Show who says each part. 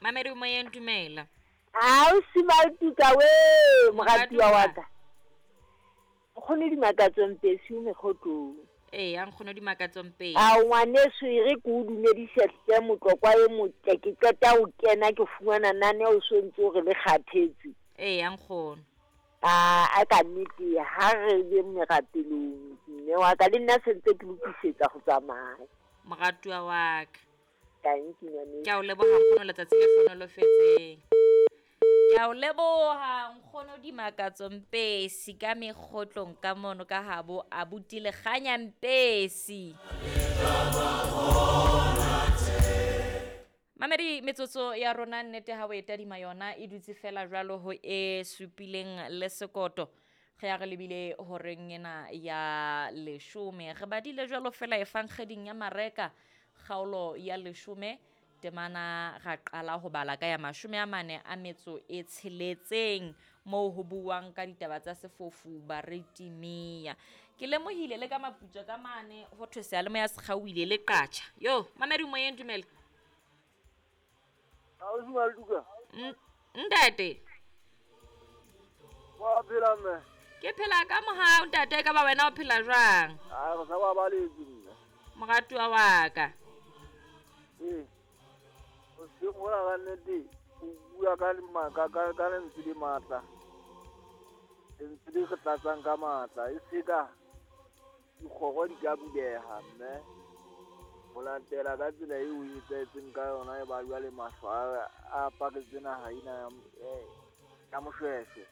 Speaker 1: Mamedi moyeng, dumela.
Speaker 2: Ausi Maltuka we, moratuwa wa ka. Nkgono Dimakatso Mpesi o mekgotlong.
Speaker 1: Eya, Nkgono Dimakatso Mpesi.
Speaker 2: Ao ngwaneso e re ke o dumedise hle motlokwa e motle, ke qeta ho kena ke fumana nane o so ntse o re le kgathetse.
Speaker 1: Eya, Nkgono.
Speaker 2: A a ka nnete ha re be merapelong mme wa ka le nna se ntse ke lokisetsa go tsamaya.
Speaker 1: Moratuwa wa ka.
Speaker 2: Tanki ngwaneso.
Speaker 1: Ke a o leboha nkgono, letsatsi le hlohonolofetseng. Ke a o leboha nkgono Dimakatso Mpesi ka mekgotlong ka mono ka habo abuti Lekganya Mpesi. Mamedi, metsotso ya rona nnete ha o e tadima yona e dutse fela jwalo ho e supileng le sekoto. Re ya re lebile horeng ena ya leshome. Re badile jwalo fela efankgeding ya Mareka kgaolo ya leshome temana ra qala ho bala ka ya 46 moo ho buuwang ka ditaba tsa sefofu Baretimia. Ke lemohile le ka maputswa ka mane ho thwe seyalemoya se kgaohile le qatjha. Yo, mamedi moyeng, dumela.
Speaker 3: Ausi Maltuka.
Speaker 1: Ntate.
Speaker 3: Wa phela mme?
Speaker 1: Ke phela ka mohau ntate, ka ba wena o phela jwang?
Speaker 3: A re sa ba baletse mme.
Speaker 1: Moratuwa wa ka.
Speaker 3: Ee. Hoseng hona ka nnete o bua ka ka lentswe le matla. Lentswe le re tlatsang ka matla. E se ka dikgoro di ka buleha mme ho latela ka tsela eo e etsahetseng ka yona e ba jwale mahlo a aparetse naha ena ya Moshweshwe.